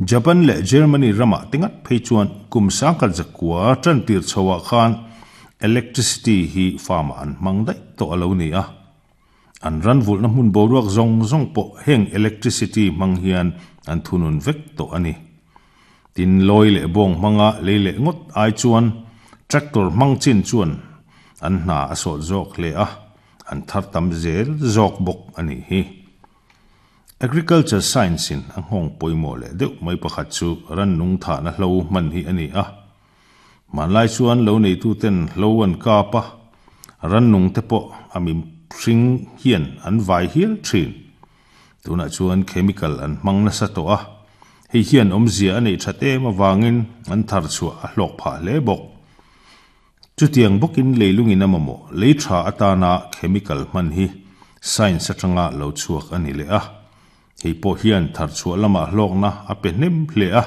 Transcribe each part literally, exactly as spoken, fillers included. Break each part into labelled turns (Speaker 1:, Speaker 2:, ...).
Speaker 1: Japan leh Germany ramah te ngat phei chuan kum sangkhat zakua tan tir chhoah khan electricity hi farm ah an hmang daih tawh a lo ni a. An ran vulhna hmun boruak zawng zawng pawh heng electricity hmang hian an thunun vek tawh a ni. Tin lawi leh bawng hmanga lei leh ngawt ai chuan tractor hmang chin chuan an hna a sawt zawk hle a, an thar tam zel zawk bawk a nih hi. Agriculture science in a nghawng pawimawh leh deuh mai pakhat chu rannung thahna hlo hman hi a ni a. Hmanlai chuan lo neituten hlo an kap a, rannung te pawh a mihring hian an vai hial thin. Tunah chuan chemical an hmang nasa tawh a, hei hian awmzia a neih that em avangin an thar chhuah a hlawk phah hle bawk. Chutiang bawkin leilungin a mamawh lei tha atana chemical hman hi science atanga lo chhuak a ni leh a. Hei pawh hian thar chhuah lamah hlawkna a pe hnem hle a.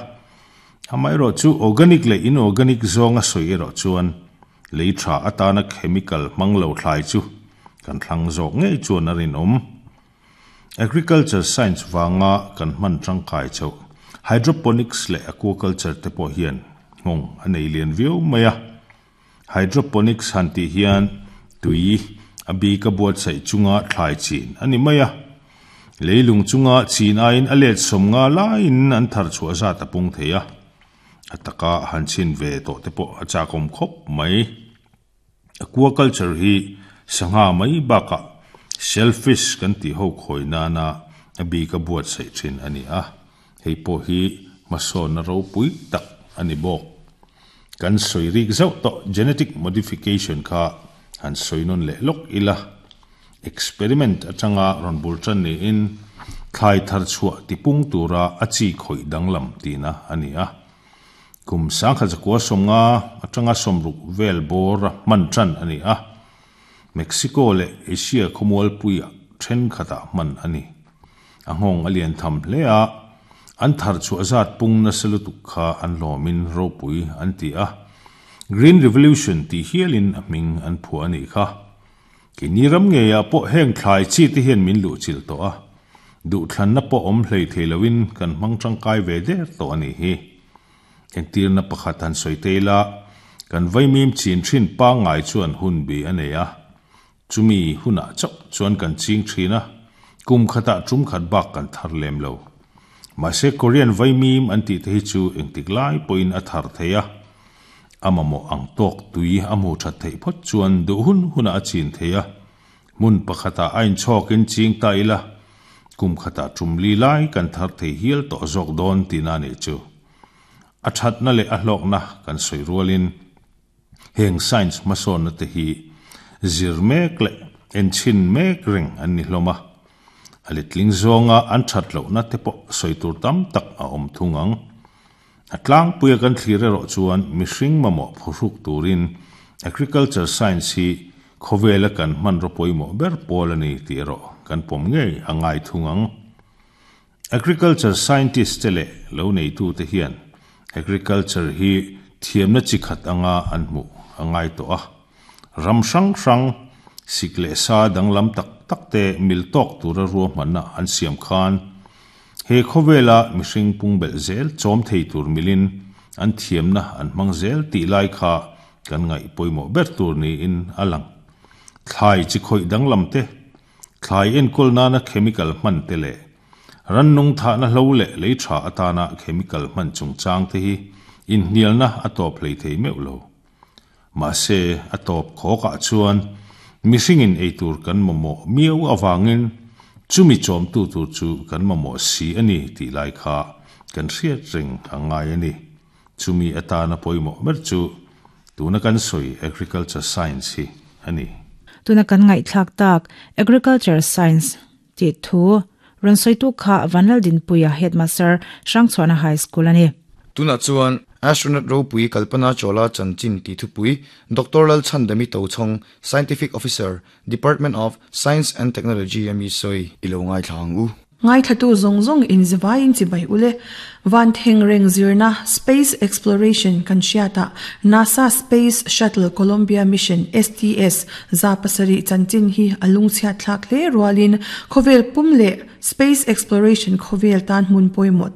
Speaker 1: Amaherawh chu organic leh inorganic zawnga sawi erawh chuan lei tha atana chemical hmang lo thlai chu kan thlang zawk ngei chuan a rinawm. Agriculture science vanga kan hman tangkai chhoh hydroponics leh aquaculture te pawh hian nghawng a nei lian viau mai a. Hydroponics han tih hian tui a bik a buatsaih chunga thlai chin a ni mai a. Leilung chunga chin aiin a let sawm nga laiin an thar chhuah zat a pung thei a. A taka han chin ve tawh te pawh a chakawm khawp mai. Aquaculture hi sangha mai bakah shellfish kan tih ho khawi nana a bik a buatsaih thin a ni a. Hei pawh hi hmasawnna ropui tak a ni bawk. Kan sawi rik zauh tawh genetic modification kha han sawi nawn leh lawk ila. Experiment atanga rawn bul tan niin thlai thar chhuah tipung tura a chi khawih danglam tihna a ni a. Kum sangkhat zakua sawmnga atanga sawmruk vel bawr a hman tan a ni a. Mexico leh Asia khawmualpuiah thenkhatah hman a ni. A nghawng a lian tham hle a, an thar chhuah zat pung nasa lutuk kha an lawmin ropui an ti a. Green Revolution tih hialin a hming an phuah a nih kha. Keini ram ngeiah pawh heng thlai chi te hian min luh chilh tawh a. Duhthlanna pawh awm hlei thei loin kan hmang tangkai ve der tawh a nih hi. Engtirna pakhat han sawi te ila, kan vaimim chin thin pangngai chuan hun bi a nei a. Chumi hunah chauh chuan kan ching thin a, kum khatah tum khat bak kan thar lem lo. Mahse Korean vaimim an tih te hi chu engtik lai pawhin a thar thei a. A mamawh ang tawk tui a hmu that theih phawt chuan duh hun hunah a chin thei a. Hmun pakhatah a inchhawkin ching ta ila, kum khatah tum li lai kan thar thei hial tawh zawk dawn tihna a nih chu. A thatna leh a hlawkna kan sawi rualin heng science hmasawnna te hi zir mek leh enchhin mek reng an ni hlawm a. A letling zawnga an that lohna te pawh sawi tur tam tak a awm thung ang. A tlangpuia kan thlir erawh chuan mihring mamawh phuhruk turin agriculture science hi khawvela kan hman raw pawimawh ber pawl a ni tih erawh kan pawm ngei a ngai thung ang. Agriculture scientist te leh lo neitu te hian agriculture hi thiamna chi khat anga an hmuh a ngai tawh a. Ram hrang hrang sik leh sa danglam tak tak te mil tawk tura ruahmanna an siam khan he khawvela mihring pung belh zel chawm thei tur milin an thiamna an hmang zel tih lai kha kan ngaih pawimawh ber tur niin a lang. Thlai chi khawih danglam te, thlai enkawl nana chemical hman te leh rannung thahna hlo leh lei tha atana chemical hman chungchang te hi inhnialna a tawp hlei thei meuh lo. Mahse a tawp khawkah chuan mihringin eitur kan mamawh miau awangin chumi chawmtu tur chu kan mamawh si a ni tih lai kha kan hriat reng a ngai a ni. Chumi atana pawimawh ber chu tuna kan sawi agriculture science hi a ni.
Speaker 2: Tuna kan ngaihthlak tak agriculture science ti thu rawn sawitu kha Vanlal Dinpuia headmaster Hrangchhuana High School ani.
Speaker 3: Tuna chuan astronaut ropui Kalpana Chawla chanchin ti thupui Doctor Lalchhandami Tochhawng Scientific Officer Department of Science and Technology ami sawi ilo ngai thlang u.
Speaker 4: Ngai thatu zong zong in ziwai in chibai ule van theng reng zirna space exploration kan hriata NASA Space Shuttle Columbia Mission S T S za pasarih chanchin hi a lungchhiat thlak hle rualin khawvel pum leh space exploration khawvel tan hmun pawimawh tak